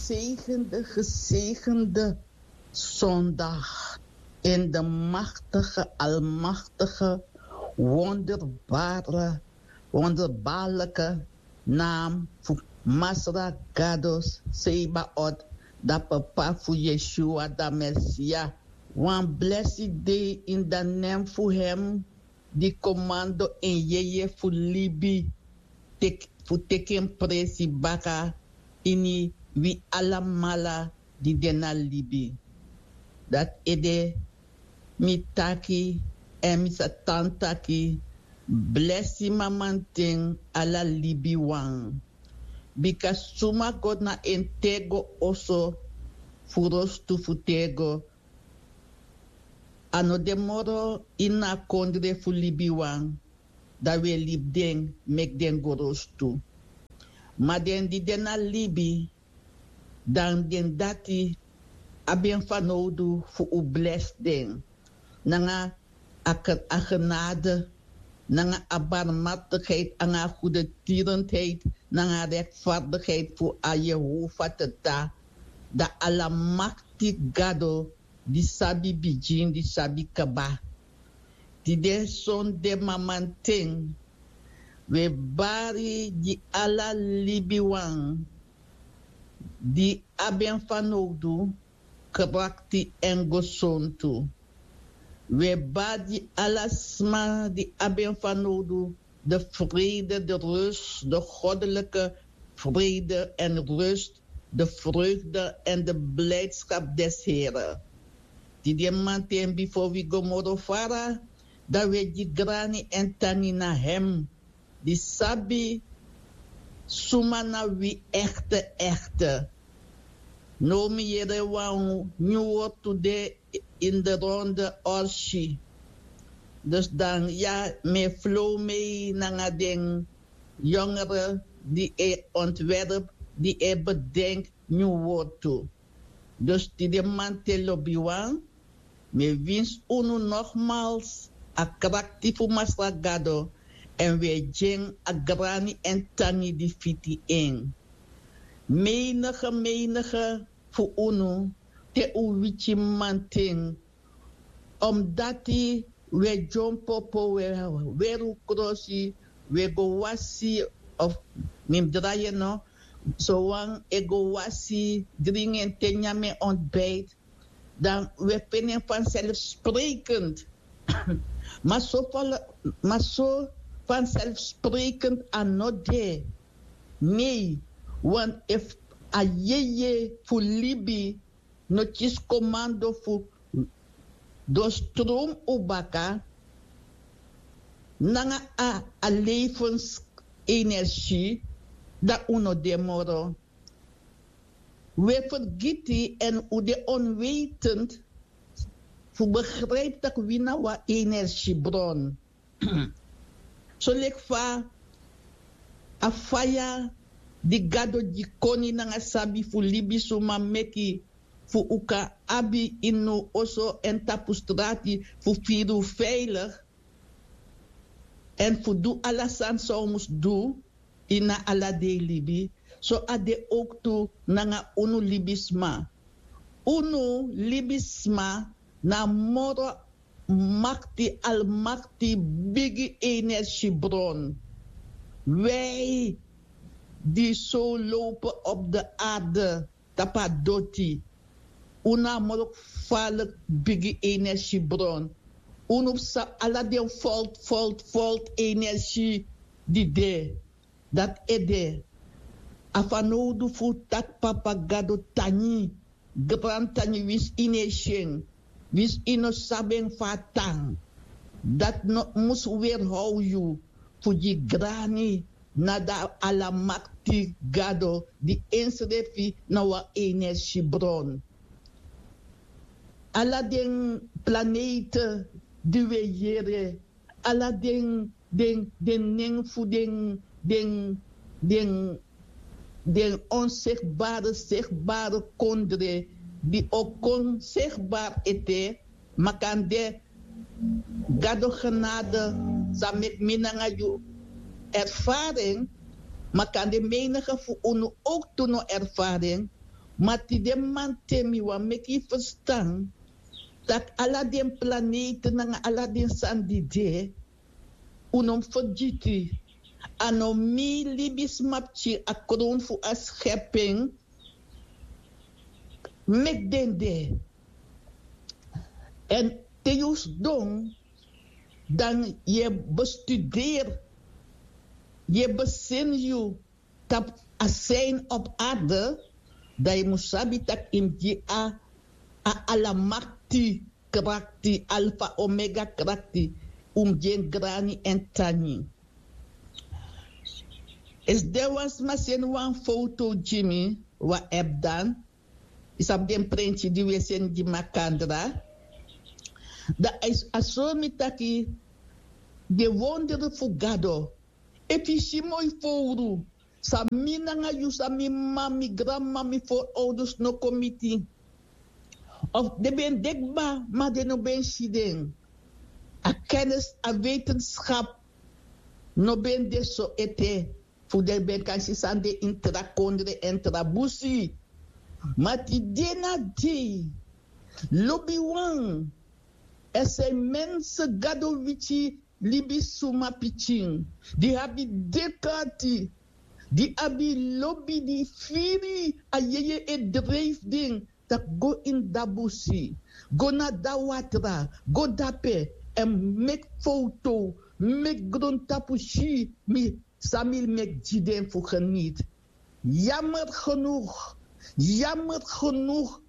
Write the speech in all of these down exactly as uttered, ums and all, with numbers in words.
gezegende, gezegende zondag in de machtige, almachtige, wonderbare, wonderbaarlijke naam fu Masra Gado Sebaot, da papa fu Yeshua, da Mesia. Wan blessed day in the name fu hem di komando en yeye fu libi, tek- fu teki en presi baka ini wi alamala di de na libi. Dati ede mi taki, èn mi sa tan taki, blesi mamanten ala libiwan. Bika suma go na en tego oso fu rostu fu tego, a no de moro ini a kondre fu libiwan, da wi e libi den meki den go rostu. Ma den di de na libi, dan den dati abi en fanowdu fu un blesi den nanga a, a genade, nanga a barmhartigheid, nanga a goedertierenheid, nanga a rechtvaardigheid fu a Jehovah Tata, da Almakti Gado, di sabi bigin, di sabi kaba. Tide sonde mamanten, wi e bari gi ala libiwan di abi en fanowdu, krakti èn gesontu. Wi e bari gi ala sma di abi en fanowdu, de vrede, de rust, de goddelijke vrede en rust, de vreugde en de blijdschap des Heren. Tide mamanten, bifo wi go moro fara, da wi e gi grani èn tangi na hem di sabi suma na wi echte, echte. Now mi yere wan nyun wortu de in de ronde orsi. Dus dan ya, mi e flow mee nanga den jongere di e ontwerp, di e bedenk nyun wortu. Dus tide mamanten, lobiwan, mi e winsi unu nogmaals a krakti fu Masra Gado, èn wi e gi en a grani èn tangi di fiti en. Menige, menige fu unu, te un wiki mamanten, omdati wi e dyompo, wi e weri un krosi, wi e go wasi, of mi mus drai en, no, sowan e go wasi, dringi en te, nyan en ontbijt, dan wi e feni en vanzelfsprekend. Ma so, ma so vanzelfsprekend a no de. Nee, want efu a yeye fu libi no kisi komando fu doorstroom un baka nanga a, a levensenergie, dan un no de moro. Wi e fergiti èn un de onwetend fu begrijp tak' wi na wan energiebron. Soleki fa a faya di Gado gi koni nanga sabi fu libisuma meki fu un kan abi ini un oso èn tapu strati fu firi un veilig èn fu du ala sani san un mus du ini a ala dei libi, so a de owktu nanga unu libisma. Unu libisma na moro makti, almakti, bigi energiebron. Wij die zo lopen op de aarde, tapu a doti, unu na moro gevaarlijk bigi energiebron. Unu sabi ala den volt, volt, volt energie di de. Dati ede a fanowdu fu taki Papa Gado tangi, grantangi, winsi yu no e si en, winsi yu no sabi en fa a tan. Dati no mus weerhow yu fu gi grani na da Alamakti Gado di ensrefi na wan energiebron. Ala den planete di wi e yere, ala den den den nen fu den den den den onzichtbare, zichtbare kondre di o kon zichtbaar ete, makande Gado genade sa meki mi nanga yu ervaring, makande menige fu unu ook tu no ervaring. Ma tide manten mi wani meki yu ferstan tak' ala den planete nanga ala den sani di de, un no mus fergiti, a no mi libisma pikin, a kron fu a skepen meki den de. Èn te yu sidon, dan yu e bestuderi, yu e beseni yu tapu a sign op arde, dan yu mus sabi tak' yu mus gi a, a alamakti krakti, alfa omega krakti, un mus gi en grani èn tangi. Esi den wan sma seni wan foto gi mi, wan app dan, yu sabi den prenti di wi e seni gi makandra, dan a sori mi taki den wondere fu gado. Efu yu si moi fowru, san mi nanga yu, san mi m'ma, mi granm'ma, mi forouders no kon miti, of den ben de kba ma den no ben si den. A kennis, a wetenskap no ben de so ete fu den ben kan si san de ini tra kondre èn tra busi. Ma tide na dei, lobiwan, èn san yu mense gado wiki, libisma pikin di abi dek'ati, di abi lobi, di firi a yeye e dreifi den tak' go ini dabusi, go na dawatra, go dape èn meki fowtow, meki grontapu si mi san mi meki gi den fu geniti. Yamer genug, yamer genug,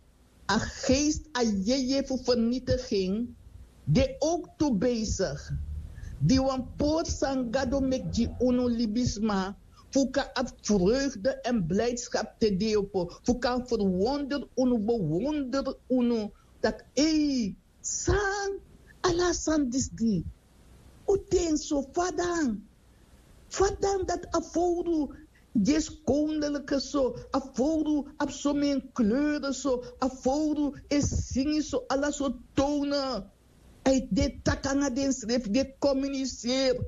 a geest a yeye fu vernitiging de ook tu bezig. Di wan pori san gado meki gi unu libisma fu kan abi vreugde èn blijdskap te deopo, fu kan verwonder unu, bewonder unu, tak' ei, san ala san disi di un ten so fadan. Fadan dati a fowru di e skondelike so, a fowru abi somen kleuren so, a fowru e singi so ala sortu tone. A e de taki nanga densrefi, di e komuniseri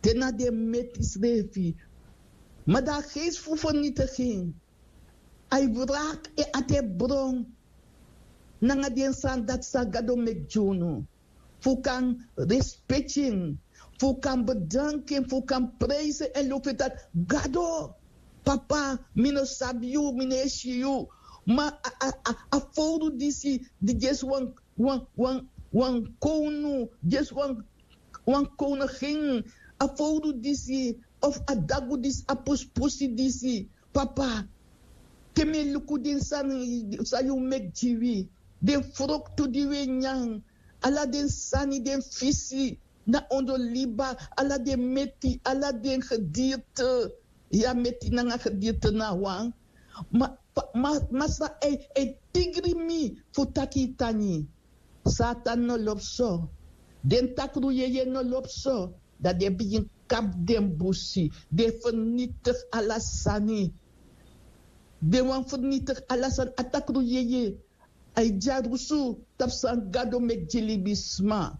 te na den meti srefi. Ma dan a geest fu vernitiging, a e wraki en ati e bron nanga den sani dati san gado meki gi unu, fu kan respeki en, fu kan bedanki en, fu kan prijsi en èn lobi en taki, gado, papa, mi no sabi yu, mi no e si yu. Ma a fowru disi di gi esi wan wan wan wan kownu, gi esi wan wan kownu gen, a fowru disi of a dagu disi, a pusipusi disi, papa, te mi e luku den sani san yu meki gi wi, den froktu di wi e nyan, ala den sani, den fisi, na ondro liba, ala den meti, ala den gedirte. Ya meti nanga gedirte na wan. Ma masra e tigri mi fu taki yu tangi. Satan no lobi so. Den takru yeye no lobi so. Dan den bigin kapu den busi, den fernitigi ala sani. Den wani fernitigi ala sani, a takru yeye. A e dyarusu tapu san gado meki gi libisma.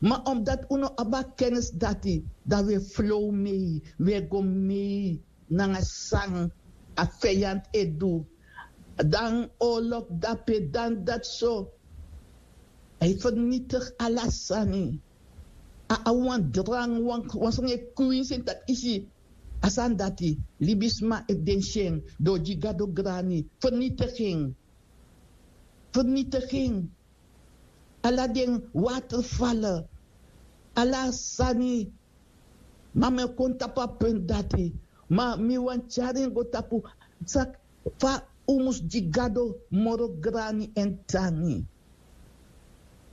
Ma omdati un no abi a kennis dati, dan un e flow mei, un e go mei nanga san a feyanti e du. Dan oorlog dape, dan dati so. A e fernitigi ala sani. A abi wan drang, wan sani e kwinsi en taki isi. A sani dati, libisma efu den si en, den o gi gado grani. Fernitigi en. Fernitigi en. Ala den watervallen, ala sani. Ma mi e kon tapu a puntu dati. Ma mi wani tyari en go tapu, fa un mus gi gado moro grani èn tangi.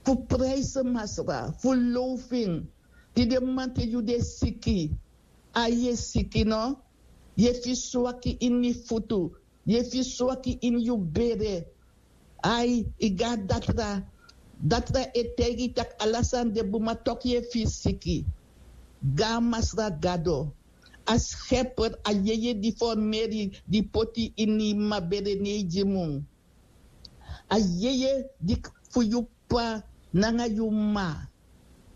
Fu prijsi masra, fu low fu en. Tide mamanten yu de siki. A yu e siki no? Yu e firi swaki ini yu futu. Yu e firi swaki ini yu bere. Ai, yu go na datra. Datra e taigi yu tak' ala sani de bun, ma toku yu e firi siki. Go na Masra Gado, a Skeper, a Yeye di formeri, di poti yu ini yu mama bere, ne yu gi mi unu. A Yeye di fu yu p'pa nanga yu mama,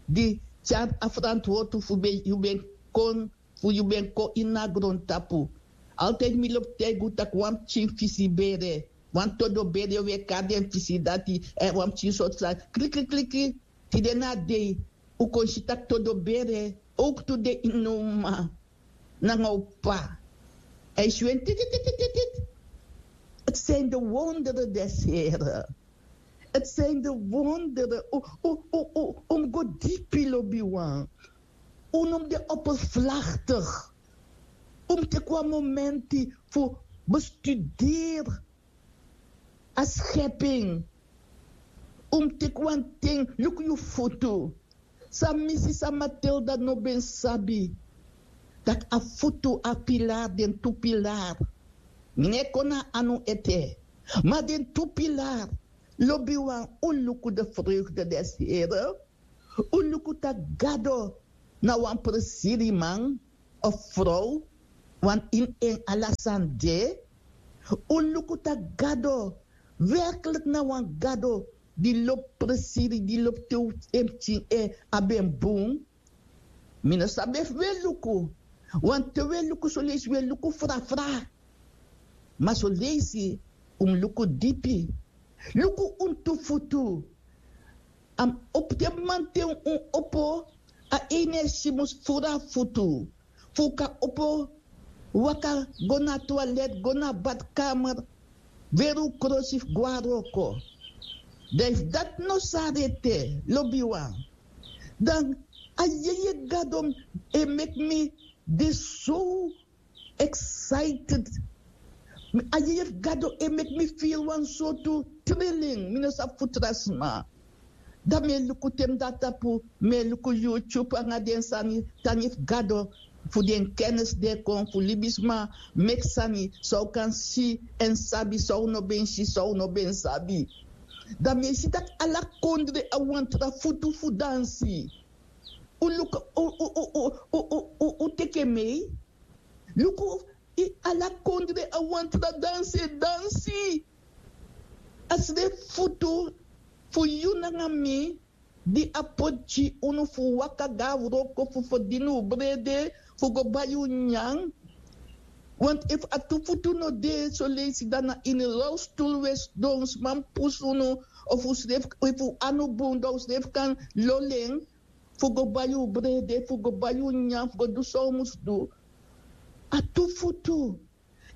di tyari a ferantwortu fu yu ben kon fu yu ben kon ini a grontapu. Altijd mi lobi taigi unu tak' wan pikin fisi bere, Wan todo bere wi e kari den fisi dati, èn wan pikin sortu sani, kliki kliki. Tide na a dei un kon si tak' todo bere owktu de ini un mama nanga un p'pa. Èn yu si wen titi titi titi. Ti seni de wondere de sere. Ti seni de wondere. Un mus go dipi lobiwan. Un no mus de operflaktik. Un mus teki wan momenti fu bestuderi a skeping. Un mus teki wan ten luku yu futu. San mi si san matilda no ben sabi, tak' a futu a pilar den tu pilar. Mi no e kon na a anu ete. Ma den tu pilar lobiwan un luku de vreugde des here. Un luku tak' gado na wan presiriman of frow. Wan ini en ala sani de. Un luku tak' gado werklik na wan gado di lobi presiri di lobi te un en pikin e abi en bun. Mi no sabi efu un e luku wanten un e luku soleisi un e luku frafra. Ma soleisi un mus luku dipi. Luku un tu futu. A mus opo te manten un opo. A energi mus furu a futu fu un kan opo waka go na a twalet go na a badkamer. Weri un krosi fu go na wroko. Dan efu dati no sari ete lobiwan, dan a yeye gado e meki mi de so excited. A yeye fu gado e meki mi firi wan sortu trilling mi no sabi fu tra sma. Dan mi e luku te mi de na tapu, mi e luku youtube nanga den sani tani fu gado, fu den kennis di e kon fu libisma meki sani san un kan si èn sabi san un no ben si san un no ben sabi. Dan mi e si tak' ala kondre a wan tra futu fu dansi. Un luku un teki en mei. Luku, ala kondre a wan tra dansi e dansi. A srefi futu fu yu nanga mi di a poti gi unu fu waka go na wroko fu ferdini un brede fu go bai un nyan. Want efu a tu futu no de soleisi dan na ini rolstul un e sidon sma mus pusu unu. Of un srefi efu un anu bun dan un srefi kan lolo en fu go bai un brede fu go bai un nyan fu go du san un mus du. A tu futu.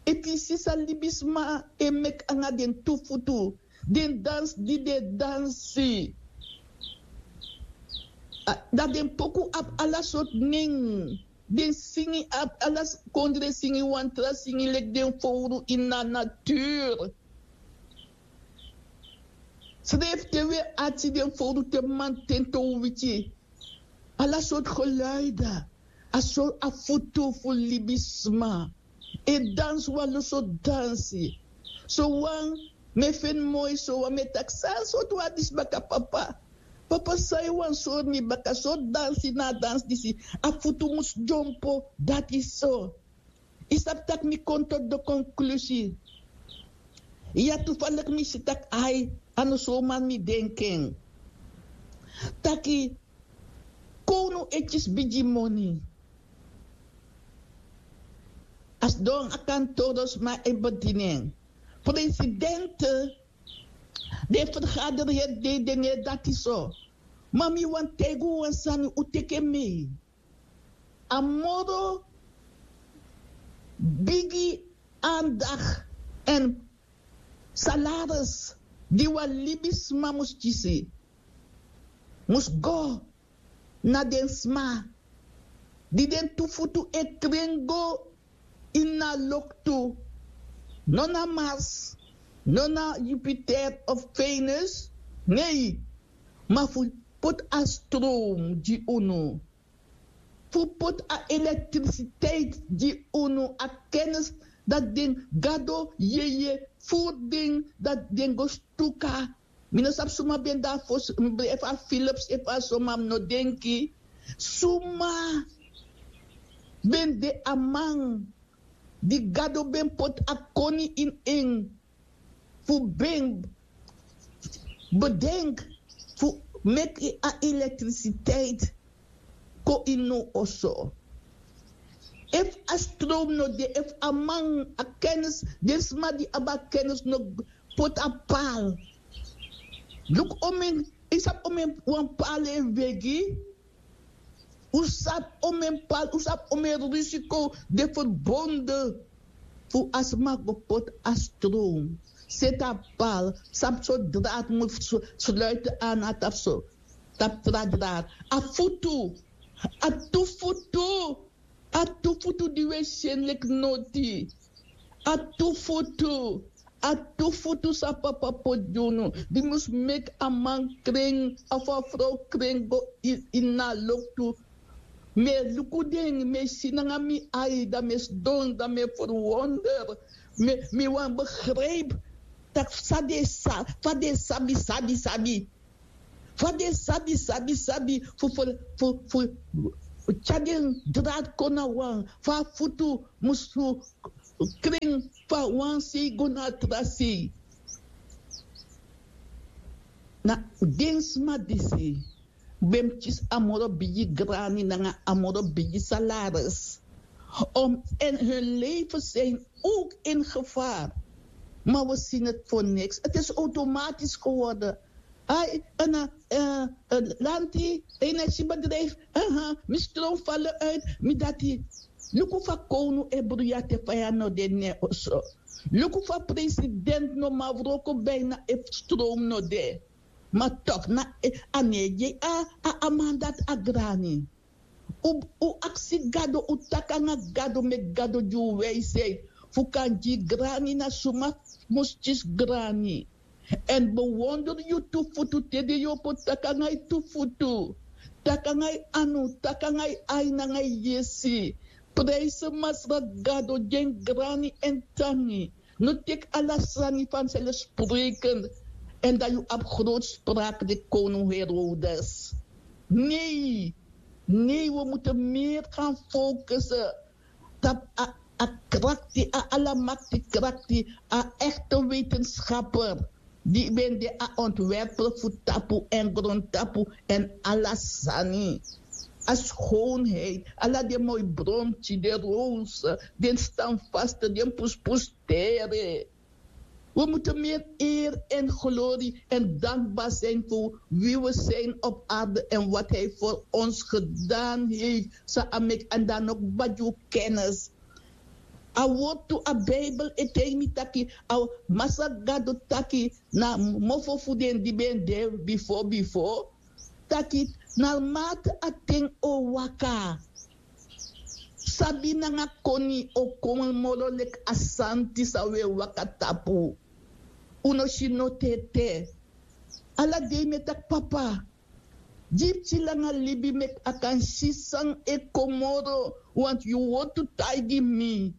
Efu yu si san libisma e meki nanga den tu futu, den dansi di den e dansi, dan den poku abi ala sortu nen. Den singi abi ala kondre singi wan tra singi leki den fowru ini a natur. Srefi te un e ati den fowru te manten te un wiki ala sortu geluida. A so a futu fu libisma e dansi wan lo sortu dansi. Sowan mi e feni moi sowan mi e taki san sortu wan disi baka papa. Papa san yu wani sori mi baka sortu dansi na a dansi disi. A futu mus dyompo dati so. Yu sabi tak' mi kon toti de konklusi. Ya tu faliki mi si tak' ai, a no somari mi denki en. Taki kownu e kisi bigi moni. A sidon a kantoro sma e bedini en. Presidente den fergaderi heri dei den no e dati so. Ma mi wani taigi un wan sani un teki en mei. A moro bigi andak èn salaris di wan libisma mus kisi mus go na den sma di den tu futu e kren go ini a loktu. No na mars, no na jupiter of venus. Nei. Ma fu poti a strom gi unu, fu poti a elektrisiteit gi unu, a kennis dati den gado yeye furu den dati den go stuka. Mi no sabi suma ben de a fosi, efu a philips efu a soma mi no denki. Suma ben de a man di gado ben poti a koni ini en fu ben bedenki fu meki a elektrisiteit kon ini un oso. Efu a stroom no de, efu a man, a kennis, den sma di abi a kennis no poti a paal. Luku omen, yu sabi omen wan paal e wegi. Un sabi omen paal, un sabi omen risiko de ferbonden fu a sma go poti a stroom. Seti a paal, sabi so draad mus sluiten aan na tapu so, tapu tra draad. A futu, a tu futu, a tu futu di un e si en leki noti. A tu futu, a tu futu san papa poti gi unu, di mus meki a man kren of a frow kren go ini a loktu. Mi e luku den, mi e si nanga mi ai, dan mi e sidon, dan mi e ferwonder. Mi wani begrijpi tak' fa den sa, fa den sabi sabi sabi, fa den sabi sabi sabi fu fu fu fu tyari den draad kon na wan, fa a futu mus kren, fa wan sei go na a tra sei. Na den sma disi ben mus kisi a moro bigi grani nanga a moro bigi salaris. Om en hun leven zijn ook in gevaar. Maar we zien het voor niks. Het is automatisch geworden. Ai, en, eh, eh, lanti, energiebedrijf, aha, mi stroom vallen uit, mi dati. Luku fa kownu e bruya te fa ya no de ne oso. Luku fa president no man wroko bijna efu stroom no de. Ma toch na, eh, a ne gi a, a, a man dati a grani. Un, un aksi Gado, un taki nanga Gado, meki Gado gi un wijsheid fu kan gi grani na suma mus kisi grani. Èn bewonder yu tu futu te den yu opo taki nanga yu tu futu, taki nanga yu anu, taki nanga yu ai nanga yu yesi. Prijsi Masra Gado, gi en grani èn tangi. No teki ala sani fanselfsprekend. Èn dan yu abi grootspraak leki koning Herodes. Nee, nee, we moeten meer gaan focussen tapu a, a krakti, a alamakti krakti, a echte wetenschapper di ben de a ontwerper fu tapu èn grontapu èn ala sani. A schoonheid, ala den moi bromki, den roos, den standvaste, den puspustere. We moeten meer eer en glorie en dankbaar zijn voor wie we zijn op aarde en wat hij voor ons gedaan heeft. San a meki, èn dan no kba gi un kennis. A wortu, a Bijbel e taigi mi taki, a Masra Gado taki na mofo fu den di ben de bifo bifo. Taki, naarmate a ten o waka, sabi nanga koni o kon moro leki a santi san un e waka tapu. Un no si no tete. Ala dei mi e taki papa, gi pikin langa libi meki a kan si san e kon moro, want yu wortu taigi mi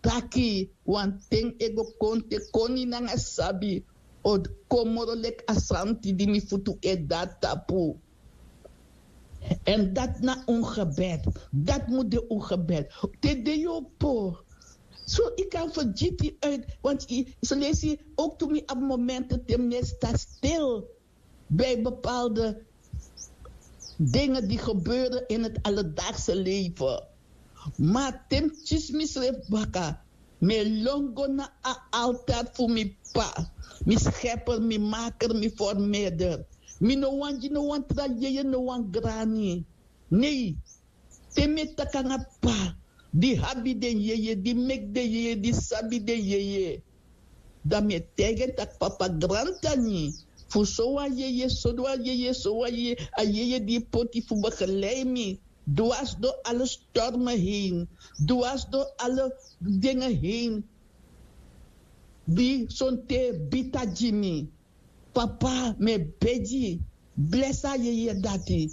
taki wan ten e go kon te koni nanga sabi o kon moro leki a santi di mi futu e de na tapu. Èn dati na un gebed. Dati mu de un gebed. Te den yu opo, so yu kan fergiti uit, want yu, so leisi ook tu mi abi momenten te mi e sta stil bij bepaalde dingen die gebeuren in het alledaagse leven. Ma te mi kisi misrefi baka, mi e lon go na a altaar fu mi p'pa, mi schepper, mi maker, mi vormeerder. Mi no wani gi no wan tra yeye, no wan grani. Nee. Te mi e taki nanga p'pa di abi den yeye, di meki den yeye, di sabi den yeye, dan mi e taigi en taki papa, grantangi fu sowan yeye, sowan yeye, sowan yeye, a yeye di yu poti fu begeleid mi dwars door alle stormen heen, dwars door alle dingen heen. Di sonte bita gi mi. Papa, mi e begi, blesi a yeye dati.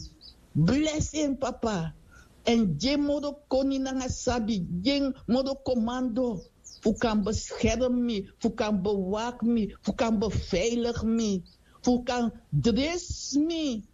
Blesi en papa. Èn gi en moro koni nanga sabi, gi en moro komando fu kan bescherm mi, fu kan bewak mi, fu kan beveilig mi, fu kan dres mi,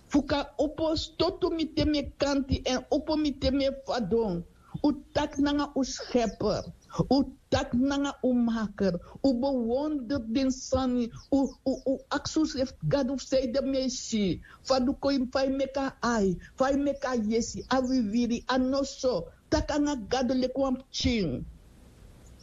fu kan opo stotu mi te mi e kanti èn opo mi te mi e fadon. Un taki nanga un schepper, un taki nanga un maker, un bewonder den sani, un, un, un aksi unsrefi, Gado, fu san ede mi e si, fa du kon, fa yu meki a ai, fa yu meki a yesi, a wiwiri, a noso, taki nanga Gado leki wan pikin.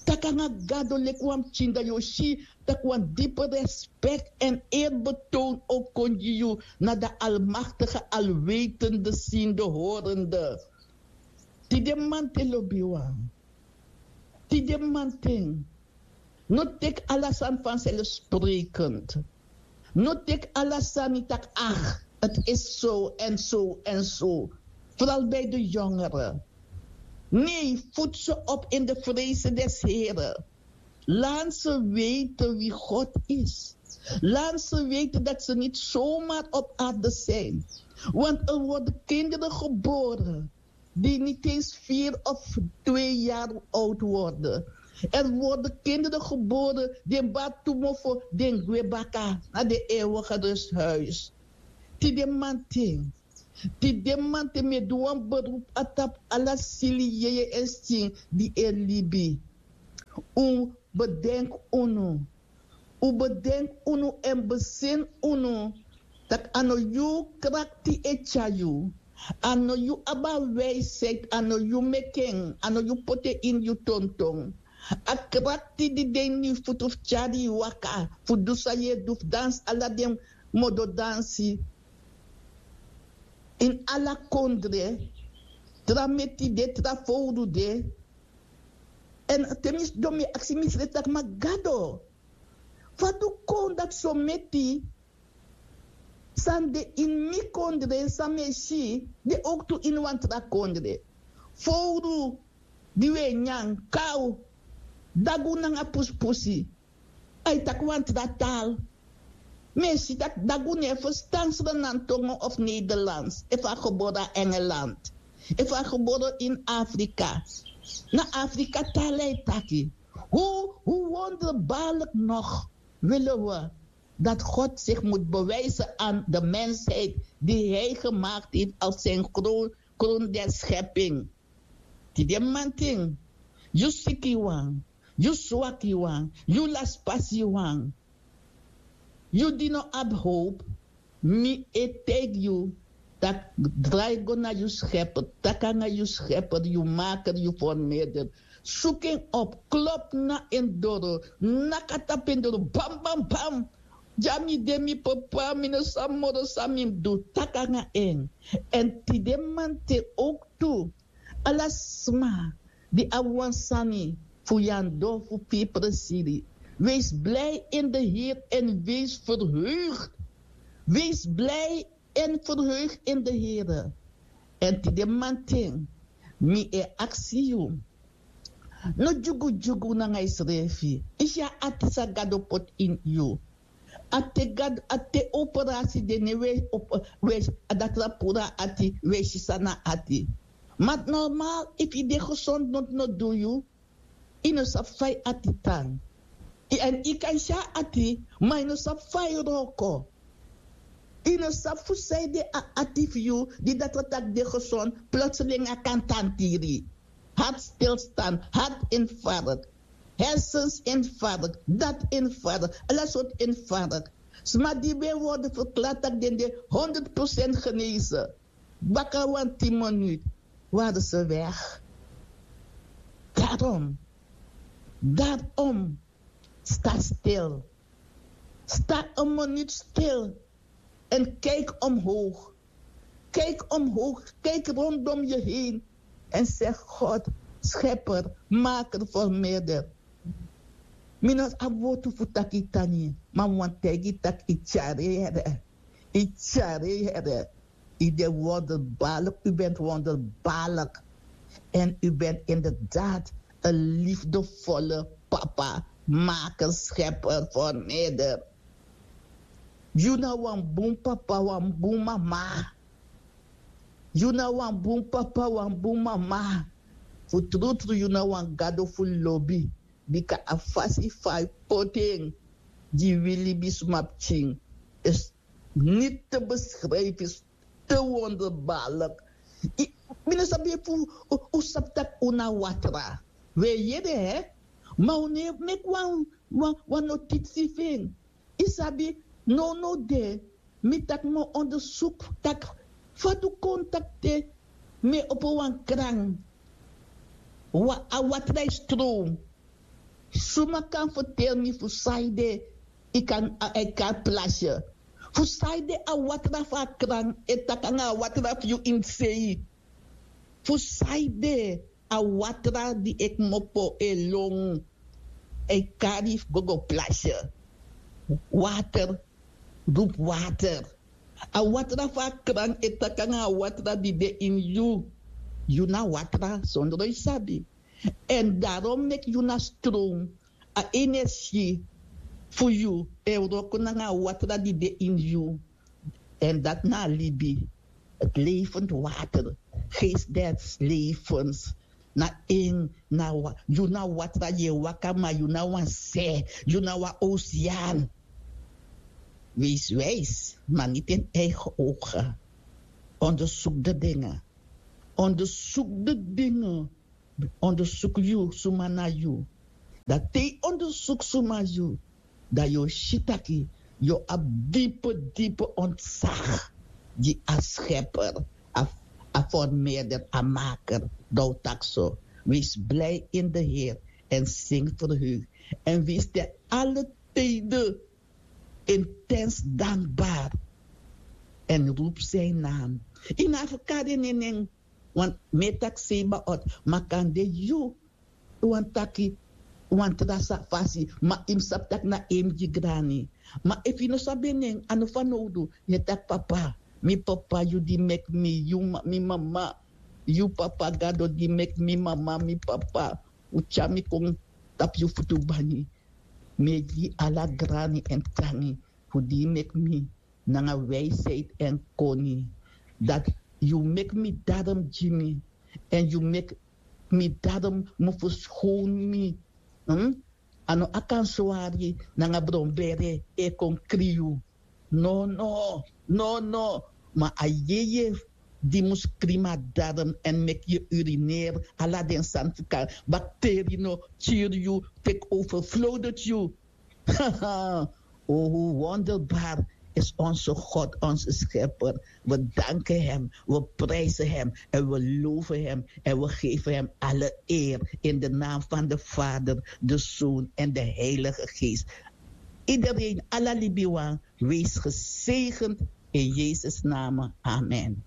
Taki nanga gado leki wan pikin, dan yu o si tak' wan dipi respek èn eri betown o kon gi yu na den almaktige, alwetende, sinde, horende. Tide mamanten, lobiwan, tide mamanten, no teki ala sani fanselfsprekend. No teki ala sani tak' ach, het is zo en zo en zo. Vooral bij de jongeren. Nee, voed ze op in de vrezen des Heren. Laat ze weten wie God is. Laat ze weten dat ze niet zomaar op aarde zijn. Want er worden kinderen geboren die niet eens vier of twee jaar oud worden. Er worden kinderen geboren die batumofo, die gwebaka naar de eeuwige rusthuis. Tide mamanten, tide mamanten mi e du wan beroep na tapu ala sili, yeye èn skin di e libi. Un bedenk unu. Un bedenk unu èn besin unu. Tak' a no yu krakti e tyari yu. A no yu abi a wijsheid, a no yu meki en, a no yu poti en ini yu tonton. A krakti di de ini yu futu fu tyari yu waka, fu du san yu e du, fu dansi ala den modo dansi. Ini ala kondre, tra meti de, tra fowru de. Èn te mi sidon mi e aksi misrefi tak' ma gado, fa du kon dati so meti san de ini mi kondre, san mi e si, de owktu ini wan tra kondre. Fowru di wi e nyan, kaw, dagu nanga pusipusi. A e taki wan tra taal. Mi e si tak' dagu no e ferstan Sranan tongo of Nederlands efu a gebore na Engeland, efu a gebore ini Afrika. Na Afrika taal a e taki. Hoe, hoe wonderbaarlijk nog willen we dat God zich moet bewijzen aan de mensheid die hij gemaakt heeft als zijn kroon, kroon der schepping. Tide mamanten, yu sikiwan, yu swakiwan, yu laspasiwan, yu di no abi howpu, mi e taigi yu tak' drai go na yu Schepper, taki nanga yu Schepper, yu Maker, yu Formeerder. Suku en op, klop na en doro, naki na tapu en doro, bam, bam, bam. Dya mi de, mi Papa, mi no sabi moro san mi mus du, taki nanga en. Èn tide mamanten owktu, ala sma di abi wan sani fu yu anu du fu firi presiri, wees blij in de Heer en wees verheugd. Wees blij en verheugd in de Heer. Èn tide mamanten, mi e aksi yu, no dyugudyugu nanga yusrefi. Yu si a ati san Gado poti ini yu. A te Gado, a te operasi de, ne wi e, wi e, a datra puru na ati, wi e si san na ati. Ma normaal, efu yu de gesond, noti no du yu. Yu no sabi fa yu ati tan. Èn yu kan si a ati, ma yu no sabi fa yu wroko. Yu no sabi fu san ede a ati fu yu, di datra taki de gesond, plotseling a kan tantiri. Hartstilstand, hartinfarct, hersensinfarct, dat infarct, ala sortu infarct. Sma di ben worden verklaard tak' den de honderd procent genezen, baka wan tien minuut waren ze weg. Daarom, daarom, sta stil. Sta een minuut stil en kijk omhoog. Kijk omhoog, kijk rondom je heen en zeg: God, schepper, maker, vermeerder. Mi no abi wortu fu taki tani, ma mi wani taigi taki yu tyari, Here. Yu tyari, Here. U bent wonderbaarlijk, u bent wonderbaarlijk. En u bent inderdaad een liefdevolle papa, maker, schepper, vermeerder. Yu na wan bun papa, wan bun mama. Yu na wan bun papa, wan bun mama. Fu trutru yu na wan Gado fu lobi. Bika a fasi fa yu poti en gi wi libisma pikin is niet te beschrijven, is te wonderbaarlijk. Mi no sabi efu un sabi taki un na watra. Wi e yere, hè? Ma un no e meki wan, wan, wan notisi fu en. Yu sabi, nownow de mi taki mi o ondersuku taki fa du kon taki te mi e opo wan kran, a watra e stroom. Suma kan ferteri mi fu san ede? Yu kan a e kari plasye. Fu san ede a watra fu a kran e taki nanga a watra fu yu ini sei? Fu san ede a watra di e kmopo e lon e kari fu go go plasye? Water, rupu water. A watra fu a kran e taki nanga a watra di de ini yu. Yu na watra sondro yu sabi. Èn darom meki yu na stron. A energi fu yu e wroko nanga a watra di de ini yu. Èn dati na a libi. Levend water. Geest des levens. Na en na yu na watra yu e waka ma yu na wan se, yu na wan osean. Wees wijs, maar niet in eigen ogen. Onderzoek de dingen. Onderzoek de dingen. Onderzoek yu suma na yu. Dan te yu onderzoek suma yu, dan yu o si taki yu o abi dipe dipe ontzag gi a schepper, a formeerder, a maker. Dan o taki so: wees blij in de Heer en zing verheugd en wees te alle tijden intens dankbaar en roep zijn naam. Yu na fu kari en nen. Want mi e taki seiba ot, ma kande yu wani taki wan tra fasi, ma yu mus sabi tak' na en mus gi grani. Ma efu yu no sabi en nen, a no fanowdu. Yu e taki: papa, mi papa, yu di meki mi, yu mi mama, yu papa gado di meki mi mama, mi papa, un tyari mi kon tapu yu futu bani. Mi e gi yu ala grani èn tangi fu di yu meki mi nanga wijsheid èn koni. Dati yu meki mi darom gi mi, èn yu meki mi darom mu ferskownu mi. A no a kan swari nanga bron bere e kon kri yu. Nono, nono. Ma a yeye di mus kri mi a darom èn meki yu urineri ala den sani fu kari bakteri no kiri yu, teki overflowdeti yu. O, hoe wonderbaar is onze God, onze schepper. We danken hem, we prijzen hem en we loven hem en we geven hem alle eer in de naam van de Vader, de Zoon en de Heilige Geest. Iedereen, ala libiwan, wees gezegend in Jezus' naam. Amen.